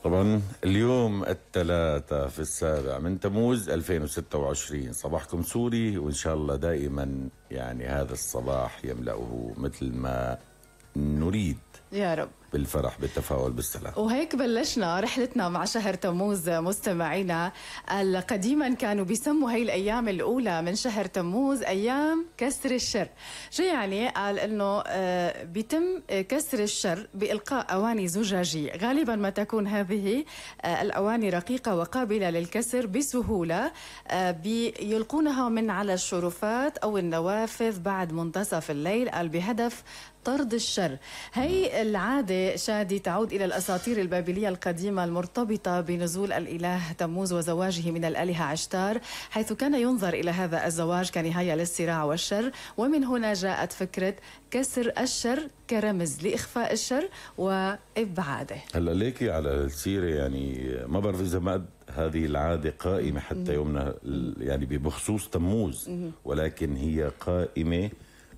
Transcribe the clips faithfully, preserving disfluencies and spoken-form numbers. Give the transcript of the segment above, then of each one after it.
طبعا اليوم الثلاثاء في السابع من تموز ألفين وستة وعشرين، صباحكم سوري، وإن شاء الله دائما يعني هذا الصباح يملأه مثل ما نريد يا رب بالفرح بالتفاؤل بالسلام. وهيك بلشنا رحلتنا مع شهر تموز مستمعينا. قديما كانوا بيسموا هي الأيام الأولى من شهر تموز أيام كسر الشر. شو يعني؟ قال إنه بيتم كسر الشر بإلقاء أواني زجاجية، غالبا ما تكون هذه الأواني رقيقة وقابلة للكسر بسهولة، بيلقونها من على الشرفات أو النوافذ بعد منتصف الليل، قال بهدف طرد الشر. هي العادة شادي تعود إلى الأساطير البابلية القديمة المرتبطة بنزول الإله تموز وزواجه من الآلهة عشتار، حيث كان ينظر إلى هذا الزواج كنهاية للصراع والشر، ومن هنا جاءت فكرة كسر الشر كرمز لإخفاء الشر وإبعاده. هلا ليكي على السيرة، يعني ما بعرف إذا ما هذه العادة قائمة حتى يومنا يعني بخصوص تموز، ولكن هي قائمة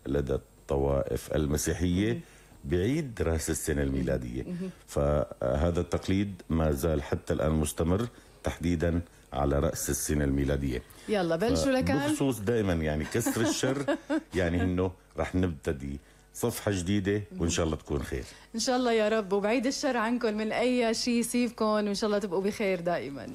لدى الطوائف المسيحية بعيد رأس السنة الميلادية. فهذا التقليد ما زال حتى الآن مستمر، تحديدا على رأس السنة الميلادية. يلا بلشوا لكان بخصوص دائما يعني كسر الشر، يعني انه رح نبتدي صفحة جديدة وإن شاء الله تكون خير إن شاء الله يا رب، وبعيد الشر عنكم من أي شيء يصيبكم، وإن شاء الله تبقوا بخير دائما.